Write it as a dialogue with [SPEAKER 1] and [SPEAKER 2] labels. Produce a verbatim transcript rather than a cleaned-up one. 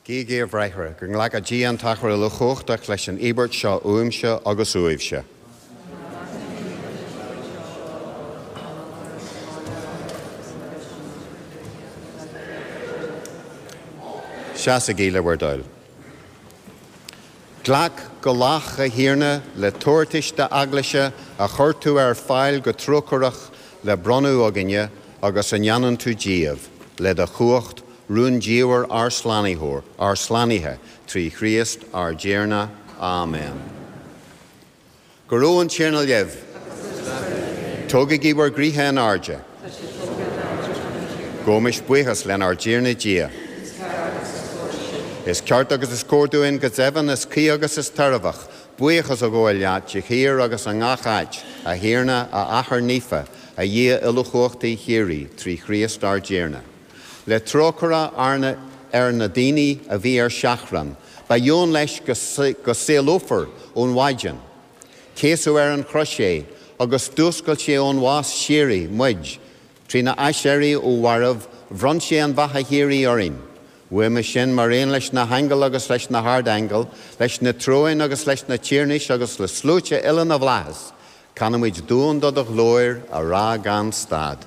[SPEAKER 1] Guígí a bhráithre, go nglaca Dia an tAthair uilechumhachtach leis an íobairt seo uaimse agus uaibhse. Seasaigí le bhur dtoil. Glac go lách a Thiarna le tabhartais d'eaglaise a chuir tú ar fáil go trócaireach le bronnadh againne agus a ndéanann tú díobh, le do chumhacht rúndiamhair ár slánitheoir, ár slánaithe, trí Chríost ár dTiarna. Amen. Go raibh an Tiarna libh. Tógaigí bhur gcroíthe in airde. Gabhaimis buíochas lenár dTiarna Dia. Is ceart agus is cóir dúinn go deimhin is cuí agus is tairbheach, buíochas a ghabháil leat de shíor agus i ngach áit, a Thiarna, a Athair Naofa, a Dhia uilechumhachtaigh shíoraí, trí Chríost ár dTiarna. Le trócaire arna ar na daoine a bhí ar seachrán, ba dheon leis go saolófar ón mhaidin. Céasadh ar an chrois é, agus d'fhuascail sé ón bhás síoraí muid, trína aiséirí ó mhairbh, bhronn sé an bheatha shíoraí orainn. Uaime sin mar aon leis na haingil agus leis na hardaingil, leis na tróin agus leis na tiarnais agus le sluaite uile na bhflaitheas, canaimid duan do do ghlóir a rá gan stad.